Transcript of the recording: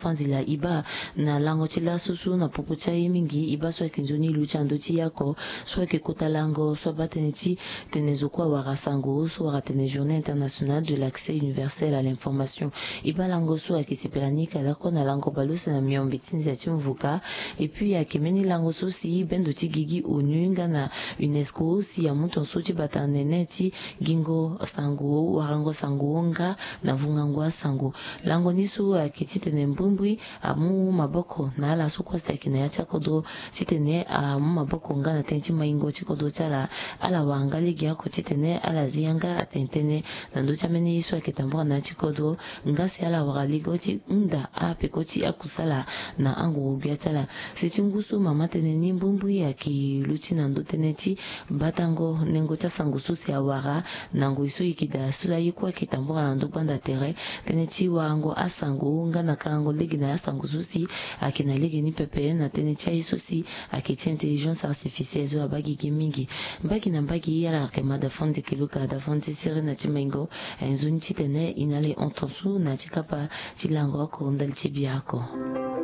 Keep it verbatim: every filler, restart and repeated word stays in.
Fanzila e baa na lango ti laso so na popo ti aye mingi, e baa so ayeke nzoni luti na ndö ti ye oko so ayeke kota lango so abaa tënë ti tene zo kue awara sango so wara tene Journée internationale de l'accès universel à l'information. E baa lango so ayeke sepela ni ka lakue na lango baleuse na miombe ti nzia ti mvuka. Et puis ayeke mbeni lango so si bendo ti gigi onu nga na UNESCO si amu tongaso ti bata nene ti gingo sango, warango sango nga na vungango asango. Lango ni so ayeke titene mbrimbri amu maboko na ala so kue si ayeke na ya ti akodro titene amu maboko nga na tënë ti maingo ti kodro ti ala. Ala wara nga lege oko titene ala zi yanga atene tënë na ndö ti ambeni ye so ayeke tambula na ya ti kodro, nga si ala wara lege ti hunda apeko ti akusala na anguru-gbia ti ala. Si ti ngu so mama tënë ni mbrimbri ayeke luti na ndö tënë ti batango nengo ti asango so si awara na ngoi so e yeke daa so aye kue ayeke tambula na ndö gbanda tere, tënë ti warango asango nga na karango lege na asango so si ayeke na lege ni pepe na tënë ti aye so si ayeke ti intelligence artificielle so abaa gigi mingi. Mbage na mbage ala yeke ma da fon ti keluka da fon ti sere na ti maingo. Aye nzoni titene e na ala e hon tongaso na ya ti kapa ti lango oko ndali ti bia oko.